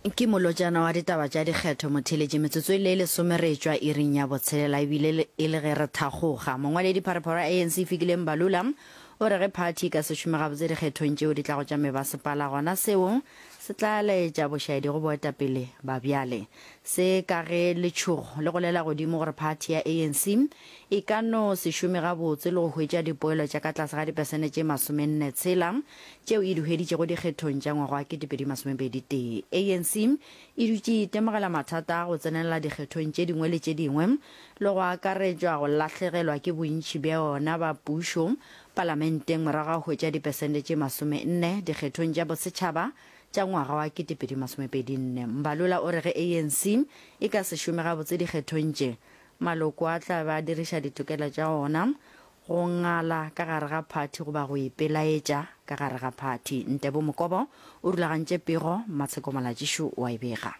Ke molotšana wa ditaba tša dikgetho motheeletši metsotso e le lesome re etšwa iring ya botshelela ebile e le ge re thakgoga. Mongwaledi pharephare wa ANC Fikile Mbalula o re ge phathi e ka se šome gabotse dikgethong tšeo di tlago tša mebasepala gona seo se tla laetša bošaedi go boetapele ba bjale. Se ka ge letšhogo le golela godimo gore phathi ya ANC e ka no se šome gabotse le go hwetša dipoelo tša ka tlase ga dipesene tše masomenne tshela tšeo e di hweditšego dikgethong tša ngwaga wa 2021. ANC e dutše e itemogela mathata a go tsenelela dikgethong tše dingwe le tše dingwe le go akaretšwa go lahlegelwa ke bontši bja yona ba pušo palamenteng morago ga go hwetša dipesente tše 40 dikgethong tša bosetšhaba tša ngwaga wa 2024. Mbalula o re ge ANC e ka se šome gabotse dikgethong tše, maloko a tla be a diriša ditokelo tša ona Go ngala ka gare ga phathi goba go ipelaetša ka gare ga phathi. Ntebo Mokobo o rulagantše pego, Mmatsheko Molatšišo o a e bega.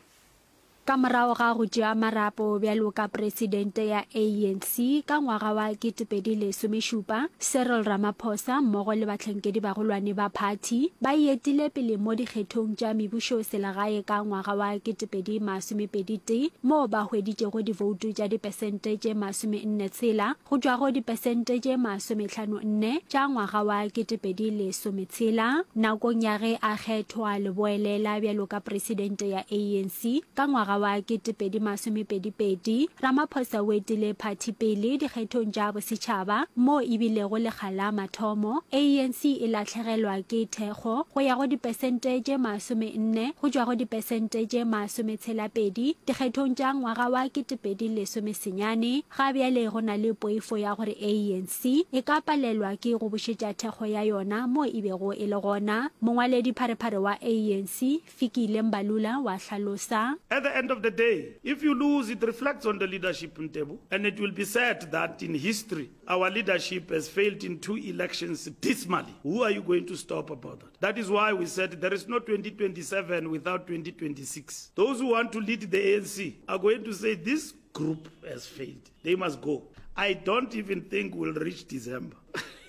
Ka morago ga go tšea marapo bjalo ka presidente ya ANC ka ngwaga wa 2017, Cyril Ramaphosa mmogo le bahlankedibagolwane ba phathi ba e etile pele mo dikgethong tša mebušoselegae ka ngwaga wa 2021 moo ba hweditšego divoutu tša dipesente tše 46 go tšwa go dipesente tše masomehlano-nne tša ngwaga wa 2016 nakong ya ge a kgethwa leboelela bjalo ka presidente ya ANC ka ngwaga wa 2022. Ramaphosa o etile phathi pele dikgethong tša bosetšhaba moo e bilego lekga la mathomo ANC e lahlegelwa ke thekgo go ya go dipesente tše masomenne go tšwa go dipesente tše masometshela-pedi dikgethong tša ngwaga wa 2019. Ga bjale go na le poifo ya gore ANC e ka palelwa ke go bušetša thekgo ya yona mo e bego e le gona. Mongwaledipharephare wa ANC, Fikile Mbalula wa hlalosa. At the end of the day, if you lose, it reflects on the leadership, Ntebo, and it will be said that in history, our leadership has failed in two elections dismally. Who are you going to stop about that? That is why we said there is no 2027 without 2026. Those who want to lead the ANC are going to say this group has failed. They must go. I don't even think we'll reach December.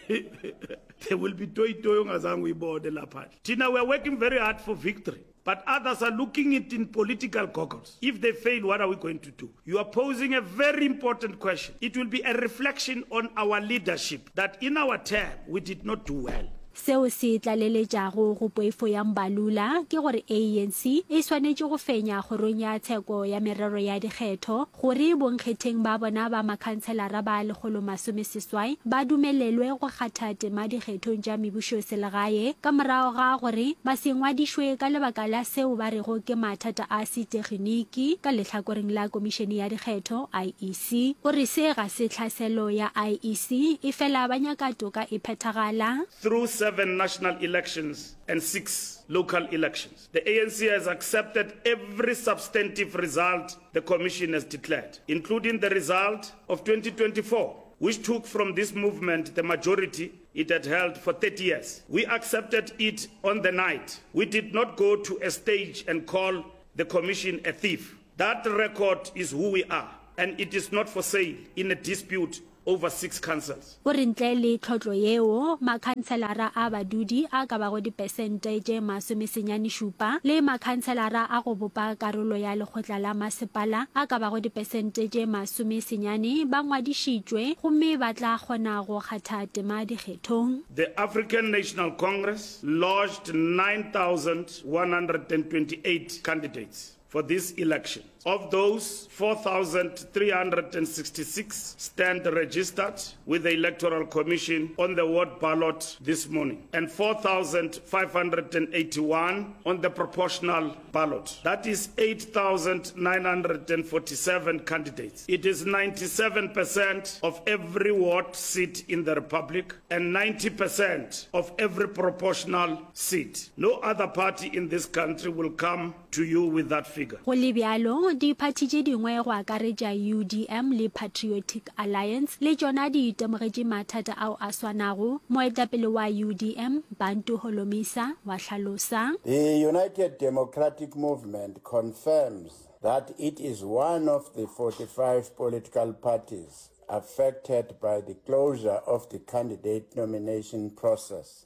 there will be toy toy ongazange uyibone lapha. Thina we are working very hard for victory. But others are looking it in political goggles. If they fail, what are we going to do? You are posing a very important question. It will be a reflection on our leadership that in our term we did not do well. Seo se tlaleletšago go poifo ya Mbalula ke gore ANC e swanetše go fenya Kgorong ya Tsheko ya Merero ya Dikgetho gore bonkgetheng ba bona ba makhanselara ba 180 ba dumelelwe go kgatha tema dikgethong tša mebušoselegae ka morago ga gore ba se ngwadišwe ka lebaka la seo ba rego ke mathata a seteginiki ka lehlakoreng la Komišene ya Dikgetho, IEC. O re se ga se tlhaselo ya IEC, efela ba nyaka toka e phethagala. Through seven national elections and six local elections, the ANC has accepted every substantive result the Commission has declared, including the result of 2024, which took from this movement the majority it had held for 30 years. We accepted it on the night. We did not go to a stage and call the Commission a thief. That record is who we are and it is not for sale in a dispute over six councils. O re ntle le tlhotlo yeo, makhanselara a badudi a ka bago dipesente tše masomesenyane-šupa le makhanselara a go bopa karolo ya lekgotla la masepala a ka bago dipesente tše masomesenyane ba ngwadišitšwe gomme ba tla kgona go kgatha tema dikgethong. The African National Congress lodged 9,128 candidates. for this election. Of those, 4,366 stand registered with the Electoral Commission on the ward ballot this morning and 4,581 on the proportional ballot. That is 8,947 candidates. It is 97% of every ward seat in the Republic and 90% of every proportional seat. No other party in this country will come to you with that figure. Go le bjalo, diphathi tše dingwe go akaretša UDM le Patriotic Alliance le tšona di itemogetše mathata ao a swanago, moetapele wa UDM, Bantu Holomisa, wa hlalosa. The United Democratic Movement confirms that it is one of the 45 political parties affected by the closure of the candidate nomination process.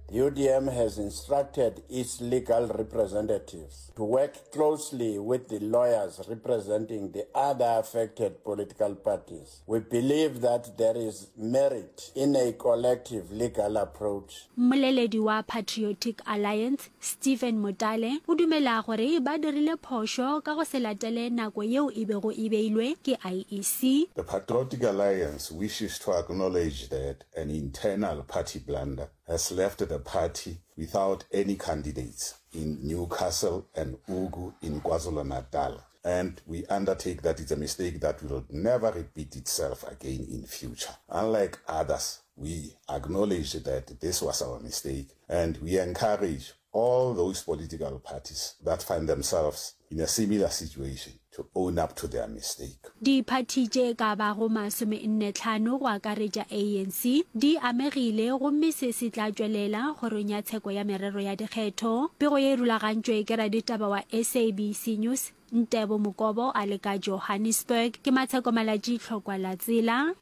The UDM has instructed its legal representatives to work closely with the lawyers representing the other affected political parties. We believe that there is merit in a collective legal approach. Mmoleledi wa Patriotic Alliance, Stephen Motale, o dumela gore ba dirile phošo ka go se latele nako yeo e bego e beilwe ke IEC. The Patriotic Alliance wishes to acknowledge that an internal party blunder has left the party without any candidates in Newcastle and Ugu in KwaZulu-Natal and we undertake that it's a mistake that will never repeat itself again in future. Unlike others, we acknowledge that this was our mistake and we encourage all those political parties that find themselves in a similar situation to own up to their mistake. Diphathi tše ka bago masomennetlhano go akaretša ANC di amegile gomme se se tla tšwelela kgorong ya tsheko ya merero ya dikgetho. Pego ye e rulagantšwe ke raditaba wa SABC News, Ntebo Mokobo a le ka Johannesburg. Ke Matsheko Malatji Tlhokwa la Tsela.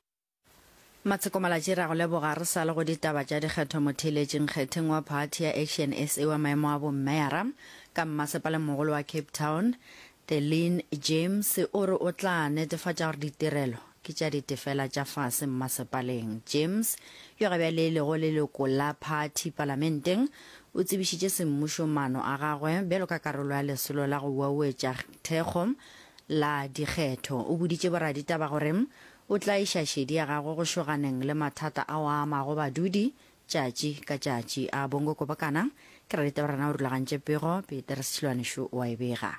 Matsheko Malatji re a go leboga re sa le go ditaba tša dikgetho motheeletši nkgetheng wa phathi ya Action SA wa maemo a bommeyara ka mmasepaleng mogolo wa Cape Town Deline James o re o tla netefatša gore ditirelo ke tša ditefela tša fase mmasepaleng. James yo ga bjale e lego leloko la phathi palamenteng o tsebišitše semmušo maano a gagwe bjalo ka karolo ya lesolo la go uauetša thekgo la dikgetho. O boditše boraditaba gore O tla iša šedi ya gagwe go šoganeng le mathata ao a amago badudi tšatši ka tšatši. A Bongo Kobokana ke raditaba rena o rulagantše pego, Peter Setšhilwane šo o a e bega.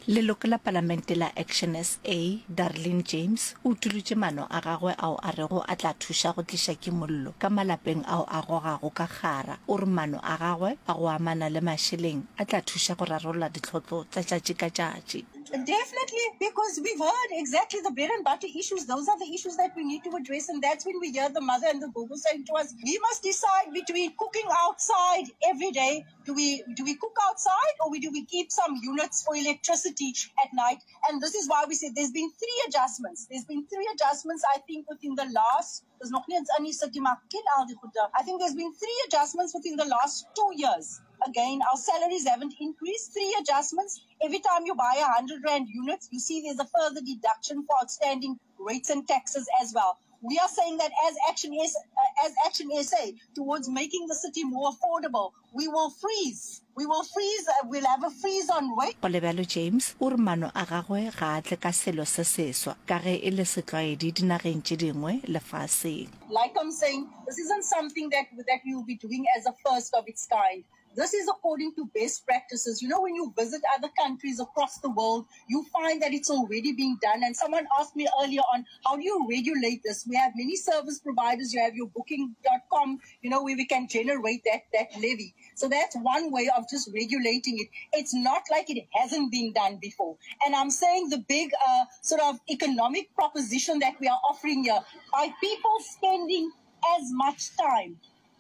Leloko la Palamente la Action SA, Darlene James, o utolotše maano a gagwe ao a rego a tla thuša go tliša kimollo ka malapeng ao a gogago ka kgara. O re maano a gagwe a go amana le mašeleng a tla thuša go rarolla ditlhotlo tša tšatši ka tšatši. Definitely, because we've heard exactly the bread and butter issues. Those are the issues that we need to address. And that's when we hear the mother and the gogo saying to us, we must decide between cooking outside every day. Do we, do we cook outside or we, do we keep some units for electricity at night? And this is why we said there's been three adjustments. There's been three adjustments, I think, within the last Dis nog nie eens in die city maar ken al die goede. I think there's been three adjustments within the last two years. Again, our salaries haven't increased. Three adjustments. Every time you buy a 100 rand unit, you see there's a further deduction for outstanding rates and taxes as well. We are saying that as Action, S, uh, as Action SA towards making the city more affordable, we will freeze. We will freeze, uh, we'll have a freeze on rate. Go le bjalo James o re maano a gagwe ga a tle ka selo se seswa ka ge e le setlwaedi dinageng tše dingwe lefaseng. Like I'm saying, this isn't something that, that we will be doing as a first of its kind. This is according to best practices. You know, when you visit other countries across the world, you find that it's already being done. And someone asked me earlier on, how do you regulate this? We have many service providers. You have your booking.com, you know, where we can generate that, that levy. So that's one way of just regulating it. It's not like it hasn't been done before. And I'm saying the big uh, sort of economic proposition that we are offering here by people spending as much time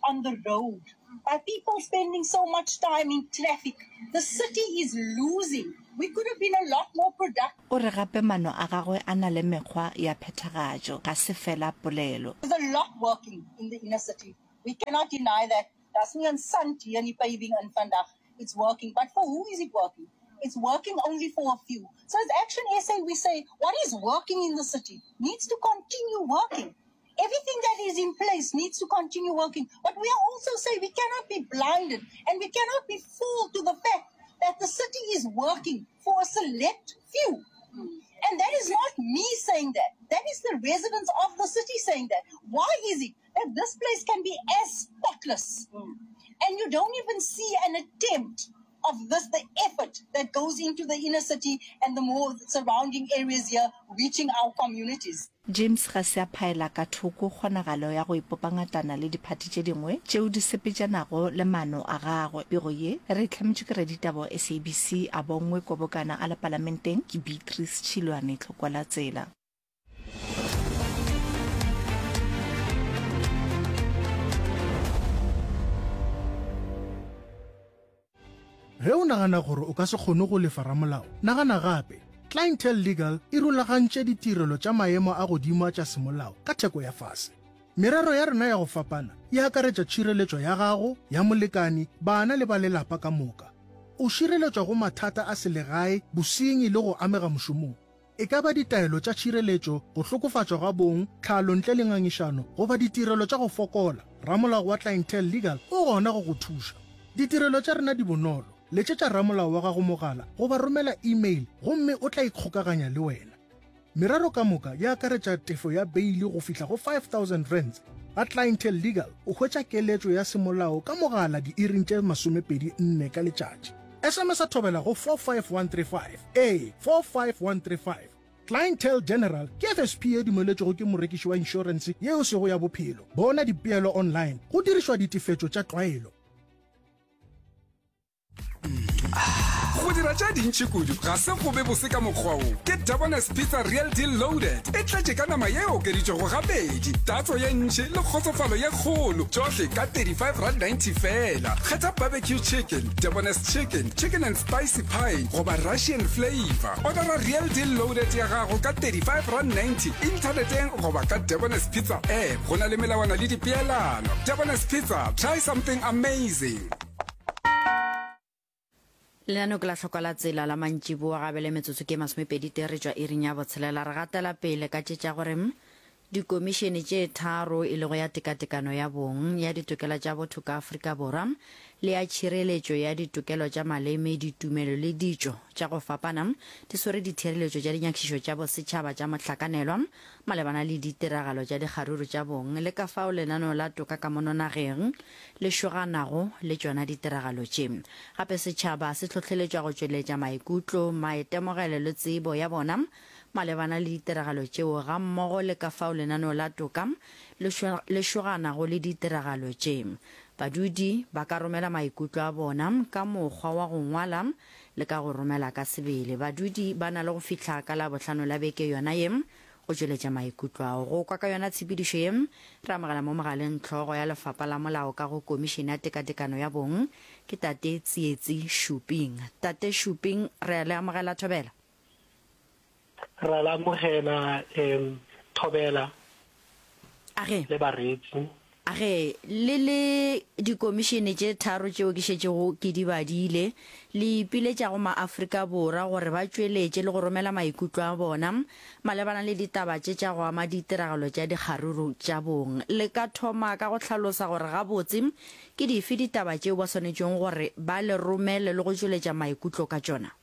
on the road, by people spending so much time in traffic, the city is losing. We could have been a lot more productive. O re gape maano a gagwe a na le mekgwa ya phethagatšo, ga se fela polelo. There's a lot working in the inner city. We cannot deny that. Daar's nie 'n sant hier in die paving in vandag. It's working. But for who is it working? It's working only for a few. So as Action SA, we say what is working in the city needs to continue working. Everything that is in place needs to continue working. But we are also saying we cannot be blinded and we cannot be fooled to the fact that the city is working for a select few. And that is not me saying that. That is the residents of the city saying that. Why is it that this place can be as spotless and you don't even see an attempt of this, the effort that goes into the inner city and the more surrounding areas here, reaching our communities. James ga se a phaela ka thoko kgonagalo ya go ipopa ngatana le diphathi tše dingwe tšeo di sepetšanago le maano a gagwe. Pego ye re e hlametšwe ke raditaba wa SABC a Bongwe Kobokana a le Palamenteng ke Beatrice Tšhilwane Tlhokwalatsela. Ge o nagana gore o ka se kgone go lefa ramolao, nagana gape. Clientele Legal e rulagantše ditirelo tša maemo a godimo tša semolao ka theko ya fase. Merero ya rena ya go fapana e akaretša tšhireletšo ya gago, ya molekani, bana le ba lelapa ka moka. O šireletšwa go mathata a selegae, bosenyi le go amega mošomong. E ka ba ditaelo tša tšhireletšo, go hlokofatšwa ga bong, tlhalo ntle le ngangišano goba ditirelo tša go fokola, ramolao wa Clientele Legal o gona go go thuša. Ditirelo tša rena di bonolo, letšetša ramolao wa gago mogala goba romela email gomme o tla ikgokaganya le wena. Merero ka moka e akaretša tefo ya beili go fihla go R5000. Ga Clientele Legal o hwetša keletšo ya semolao ka mogala diiring tše 24 ka letšatši. SMS-a thobela go 45135. Ee, 45135. Clientele General ke FSP ye dumeletšwego ke morekiši wa inšorense ye e sego ya bophelo. Bona dipeelo online go dirišwa ditefetšo tša tlwaelo. Go dira tše dintši kudu ga se go be bose ka mokgwa wo. Ke Debonair's Pizza Real Deal Loaded. E tletše ka nama ye e okeditšwego gabedi, tatso ye ntši le kgotsofalo ye kgolo, tšohle ka R35.90 feela. Kgetha barbecue chicken, Debonair's chicken, chicken and spicy pie goba Russian flavour. Odara Real Deal Loaded ya gago ka R35.90 inthaneteng goba ka Debonair's Pizza app. Go na le melawana le dipeelano. Debonair's Pizza, try something amazing. Lenaneo ke la hlokwa la tsela la mantšiboa ga bjale metsotso ke masomepedi tee re tšwa iring ya botshelela re gatela pele ka tše tša gore dikomišene tše tharo e lego ya tekatekano ya bong ya ditokelo tša botho ka Afrika Borwa le ya tšhireletšo ya ditokelo tša maleme ditumelo le ditšo tša go fapana di swere dithereletšo tša dinyakišišo tša bosetšhaba tša mohlakanelwa malebana le ditiragalo tša dikgaruru tša bong le ka fao lenaneo la toka ka mono nageng le šoganago le tšona ditiragalo tše. Gape setšhaba se hlohleletšwa go tšweletša maikutlo, maitemogelo le tsebo ya bona malebana le ditiragalo tšeo gammogo le ka fao lenaneo la toka le šoganago le ditiragalo tše. Badudi ba ka romela maikutlo a bona ka mokgwa wa go ngwala le ka go romela ka sebele. Badudi ba na le go fihla ka Labohlano la beke yona ye go tšweletša maikutlo ao. Go kwa ka yona tshepedišo ye, re amogela mo mogaleng hlogo ya Lefapha la Molao ka go Komišene ya Tekatekano ya Bong, ke Tate Tsietsi Shuping. Tate Shuping, re a le amogela Thobela. Re a le amogela Thobela Age. le bareetsi. Age, le le dikomišene tše tharo tšeo ke šetšego ke di badile, le ipiletša go maAfrika Borwa gore ba tšweletše le go romela maikutlo a bona malebana le ditaba tše tša go ama ditiragalo tša dikgaruru tša bong. Le ka thoma ka go hlalosa gore gabotse ke dife ditaba tšeo ba swanetšego gore ba le romele le go tšweletša maikutlo ka tšona?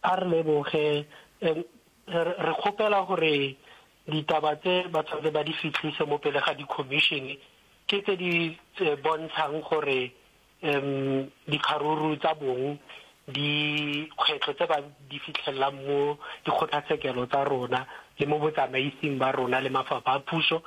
A re leboge. Re kgopela gore ditaba tse ba tshwanetse ba di fihlise mo pele ga di-commission ke tse di bontshang gore dikgaruru tsa bong dikgwetlho tse ba di fitlhelelang mo dikgotlatshekelo tsa rona le mo botsamaising ba rona le mafapha a puso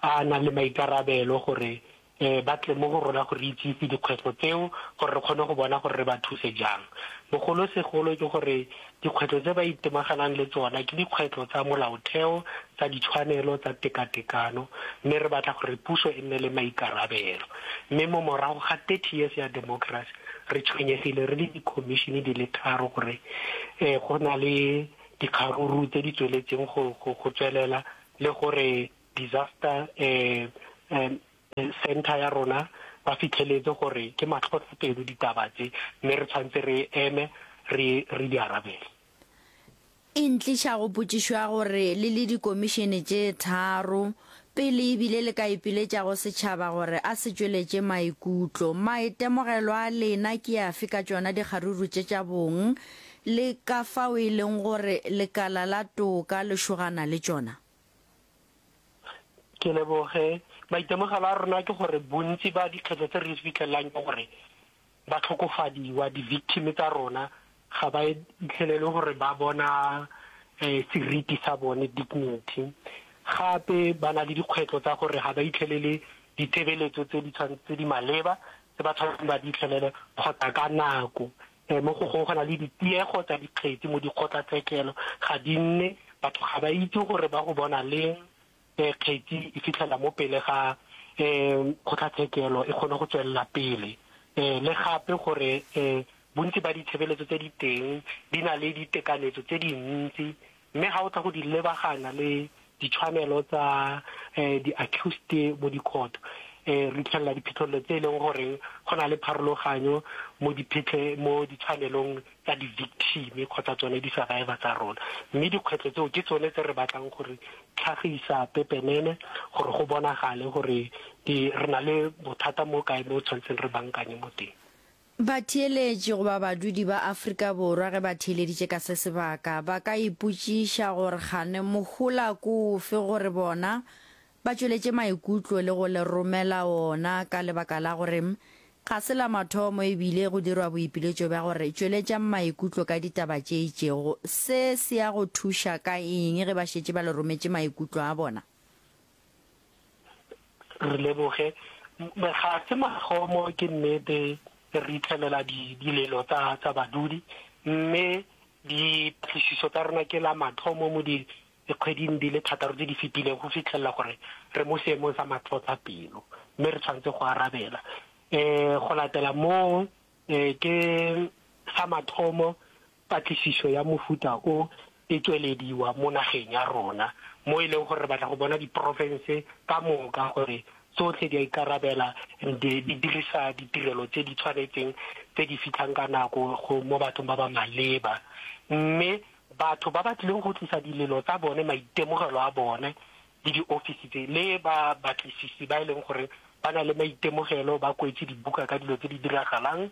a nang le maikarabelo gore ba tle mo go rona go re itsise dikgwetlho tseo gore re kgone go bona gore re ba thuse jang. Bogolosegolo ke gore dikgwetlho tse ba itemaganang le tsona ke dikgwetlho tsa molaotheo, tsa ditshwanelo, tsa tekatekano mme re batla gore puso e nne le maikarabelo. Mme mo morago ga 30 years ya democracy re tshwenyegile re le dikhomišene di le tharo gore go na le dikgaruru tse di tsweletseng go tswelela le gore disaster center ya rona ba fitlheletse gore ke matlhotlhapelo ditaba tse mme re tshwanetse re eme re re di arabele. E ntliša go potšišo ya gore le le dikomišene tše tharo pele ebile le ka ipiletša go setšhaba gore a se tšweletše maikutlo. Maitemogelo a lena ke afe ka tšona dikgaruru tše tša bong le ka fao e leng gore lekala la toka le šogana le tšona? Ke leboge. Maitemogelo a rona ke gore bontsi ba dikgwetlho tse re di fitlhelelang ke gore ba tlhokofadiwa, di-victim tsa rona ga ba itlhelele gore ba bona seriti sa bone, dignity. Gape ba na le dikgwetlho tsa gore ga ba itlhelele ditshebeletso tse di tse di maleba tse ba tshwanetseng ba di itlhelele kgotsa ka nako. Mo go gongwe go na le ditiego tsa dikgetsi mo dikgotlatshekelo, ga di nne, batho ga ba itse gore ba go bona leng kgetsi e fitlhela mo pele ga kgotlatshekelo e kgone go tswelela pele. Le gape gore bontsi ba ditshebeletso tse di teng di na le ditekanyetso tse dintsi mme ga o tla go di lebagana le. ditshwanelo tsa um di-accused mo di-court um re itlhelela diphitlhelelo tse e leng goreng go na le pharologanyo mo diphitlhe mo ditshwanelong tsa di-victim kgotsa tsone di-survivor tsa rona. Mme dikgwetlho tseo ke tsone tse re batlang gore tlhagisa pepenene gore go bonagale gore di re na le bothata mo kae mo tshwanetseng re bankanye mo teng. Batheeletši goba badudi ba Afrika Borwa ge ba theeleditše ka se sebaka ba ka ipotšiša gore kgane mohola ke ofe gore bona ba tšweletše maikutlo le go le romela ona ka lebaka la gore ga se la mathomo e bile go dirwa boipiletšo bja gore tšweletšang maikutlo ka ditaba tše itšego. Se se ya go thuša ka eng ge ba šetše ba le rometše maikutlo a bona? Re leboge. Ga se mathomo ke nnete re itlhelela dilelo tsa tsa badudi, mme dipatlisiso tsa rona ke la mathomo mo dikgweding di le thataro tse di fetileng go fitlhelela gore re mo seemong sa matlhotlhapelo mme re tshwanetse go arabela. Um go latela moo um ke sa mathomo Patlisišo ya mohuta o e tšwelediwa mo nageng ya rona, mo e leng gore re batla go bona diprofense ka moka gore tsohle di a ikarabela and di dirisa ditirelo tse di tshwanetseng tse di fitlhang ka nako go mo bathong ba ba maleba. Mme batho ba ba tlileng go tlisa dilelo tsa bone, maitemogelo a bone le diofisi tse le ba batlisisi ba e leng gore ba na le maitemogelo, ba kwetse dibuka ka dilo tse di diragalang,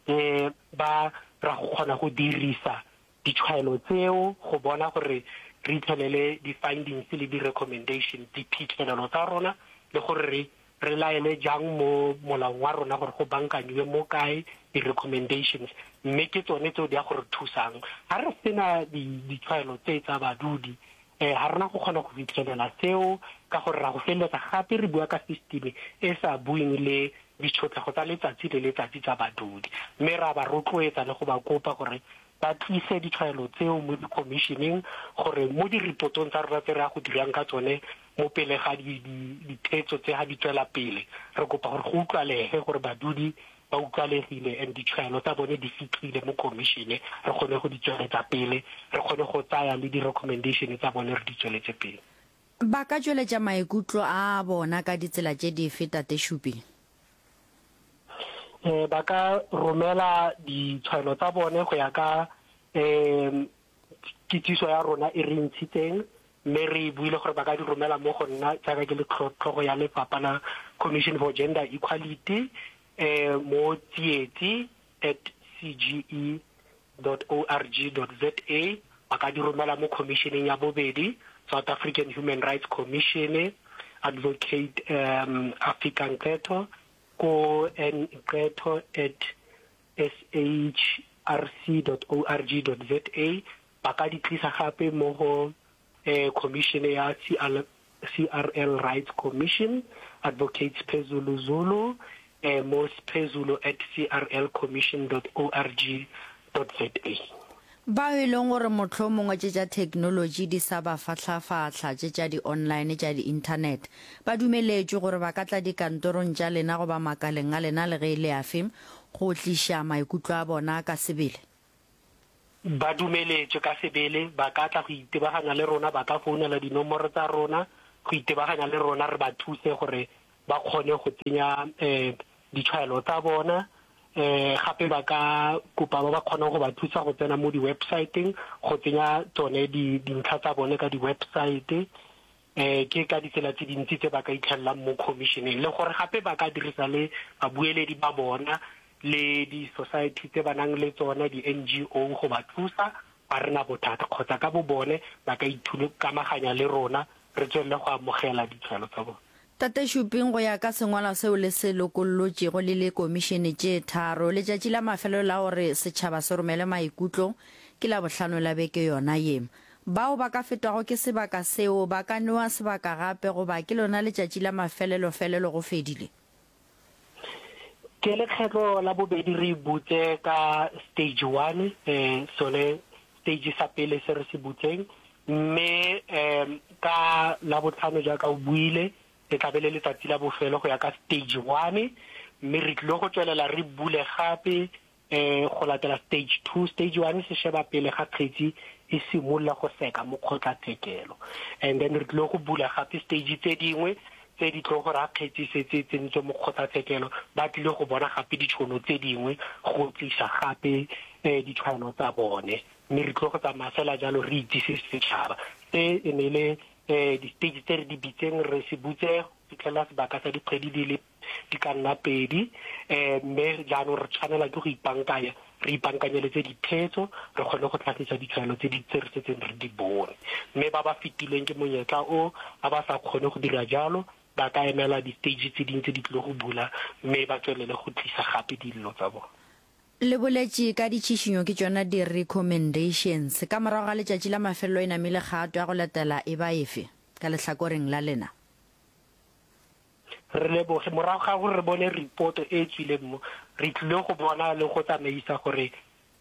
E ba ra go kgona go dirisa ditshwaelo tseo go bona gore re itlhelele di-findings le di-recommendations, diphitlhelelo tsa rona le gore re re laele jang mo molaong wa rona gore go bankanyiwe mo kae di-recommendations, mme ke tsone tseo di ya go re thusang. Ga re sena ditshwaelo tse tsa badudi, um ga rena go kgona go fitlhelela seo ka gore ra go feleletsa gape re bua ka system e sa bueng le ditshotlego tsa letsatsi le letsatsi tsa badudi, mme ra ba rotloetsa le go ba kopa gore ba tlise ditshwaelo tseo mo dikhomišeneng gore mo diripotong tsa rona tse re ya go dirang ka tsone mo pele ga dithetso tse ga di tswela pele, re kopa gore go utlwalege gore badudi ba utlwalegile and ditshwaelo tsa bone di fitlhile mo khomišene, re kgone go di tsweletsa pele, re kgone go tsaya le di-recommendation tsa bone re di tsweletse pele. Ba ka tšweletša maikutlo a bona ka ditsela tše dife, Tate Shupi? Um ba ka romela ditshwaelo tsa bone go ya ka um kitsiso ya rona e re ntshitseng, mme re buile gore ba ka di romela mo go nna jaaka ke le tlhogo ya lefapha la Commission for Gender Equality um mo tsietsi at cge dot org dot za, ba ka di romela mo khomišeneng ya bobedi, South African Human Rights Commission, Advocate um Afrika Nqetho ko nqetho at shrc dot org dot za, ba ka di tlisa gape mo go um khomišene ya CL CRL Rights Commission, Advocate Sphezulu Zulu, eh, mo sphezulu at crlcommission dot org dot za. Bao e leng gore mohlomongwe tše tša theknolotši di sa ba fahlafahla, tše tša di-online tša di-internet, ba dumeletšwe gore ba ka tla dikantorong tša lena goba makaleng a lena le ge e le afe go tliša maikutlo a bona ka sebele. Ba dumeletšwe ka sebele, ba ka tla go itebaganya le rona, ba ka founela dinomoro tsa rona go itebaganya le rona, re ba thuse gore ba kgone go tsenya um ditshwaelo tsa bona. Um gape ba ka kopa ba ba kgonang go ba thusa go tsena mo di-websiteng go tsenya tsone dintlha tsa bone ka di-website. Um ke ka ditsela tse dintsi tse ba ka itlhelelang mo khomišeneng, le gore gape ba ka dirisa le babueledi ba bona le di-society tse ba nang le tsona, di-N_G_O go ba thusa, ga re na bothata, kgotsa ka bo bone ba ka ikamaganya le rona re tswelele go amogela ditshwaelo tsa bone. Tate Shuping, go ya ka sengwalwa seo le se lokollotšego le le komišene tše tharo, letšatši la mafelelo la gore setšhaba se romele maikutlo ke Labohlano la beke yona ye. Bao ba ka fetwago ke sebaka seo ba ka newa sebaka gape goba ke lona letšatši la mafelelo-felelo go fedile? Ke lekgetlo la bobedi re butse ka stage one, eh, sone stage sa pele se re se butseng, mme um ka Labohlano jaaka o buile, e tla be le letsatsi la bofelo go ya ka stage one, mme re tlile go tswelela re bule gape um go latela stage two. Stage one se sheba pele ga kgetsi. e simolola go seka mo kgotlatshekelo. And then re tlile go bula gape stage tse dingwe tse di tlo gore ga kgetsi e setse e tsentswe mo kgotlatshekelo ba tlile go bona gape ditšhono tse dingwe go tlisa gape um ditshwanelo tsa bone. Mme re tlile go tsamaya fela jalo re itsise setšhaba. Se e ne e le um di-stage tse re di bitseng re se butse go fitlhelela sebaka sa dikgwedi di le di ka nna pedi um mme jaanong re tshwanela ke go ipankanya re ipankanyeletse diphetso re kgone go tlhagisa ditshwanelo tse di tse re setseng re di bone mme ba ba fetilweng ke monyetla o ba ba sa kgone go dira jalo ba ka emela di-stage tse dingwe tse di tlile go bula mme ba tswelele go tlisa gape dillo tsa bone. Le boletše ka ditšhišinyo ke tšona di-recommendations. Ka morago ga letšatši la mafelelo e namile kgato ya go latela e ba efe ka lehlakoreng la lena? Re leboge. Morago ga gore re bone ripoto e e tswileng mo, re tlile go bona le go tsamaisa gore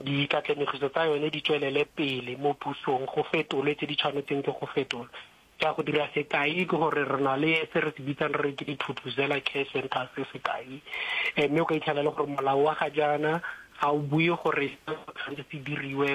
dikatlenegiso tsa yone di tswelele pele mo pusong, go fetolwe tse di tshwanetseng ke go fetolwa. Ke a go dira sekai ke gore re na le se re se bitsang re re ke di-Thuthuzela Care Centres sekai, mme o ka itlhela e le gore molao wa ga jaana ga o bue gore se tshwanetse se diriwe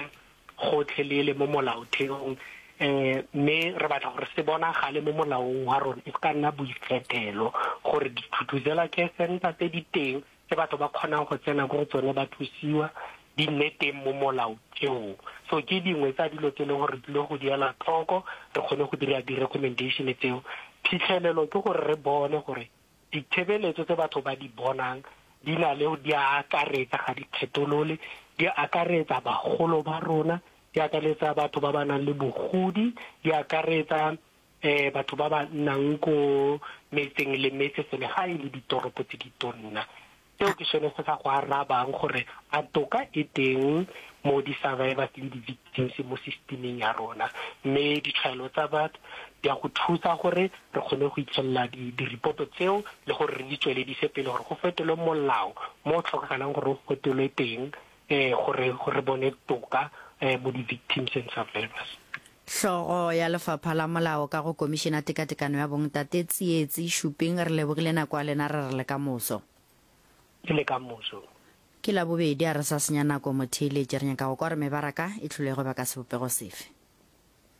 gotlhelele mo molaotheong um mme re batla gore se bonagale mo molaong wa rona e se ka nna boikgethelo gore dithuthuzela care center tse di teng tse batho ba kgonang go tsena ko go tsone ba thusiwa di nne teng mo molaotheong. So ke dingwe tsa dilo tse e leng gore re tlile go di ela tlhoko re kgone go dira di-recommendation tseo. Phitlhelelo ke gore re bone gore Ditshebeletso tse batho ba di bonang di na le di a akaretsa, ga di kgetholole, di akaretsa bagolo ba rona, di akaretsa batho ba ba nang le bogodi, di akaretsa um batho ba ba nnang ko metseng le metse selegae le ditoropo tse di tonna. Seo ke sone se sa go arabang gore a toka e teng mo di-survivors le di-victims mo systeming ya rona. Mme ditshwaelo tsa batho di a go thusa gore re kgone go itlhelela di-report-o tseo le gore re di tsweledise pele gore go fetolwe molao mo o tlhokagalang gore o fetolwe teng um gore re bone toka um mo di-victims and survivors. Hlogo ya Lefapha la Molao ka go Komišene ya Tekatekano ya Bong, Tate Tsietsi Shuping, re lebogile nako ya lena, re re le ka moso. Ke le ka moso. Ke Labobedi, a re sa senya nako motheeletši, re nyaka go kwa gore mebaraka e hlolego ba ka sebopego sefe.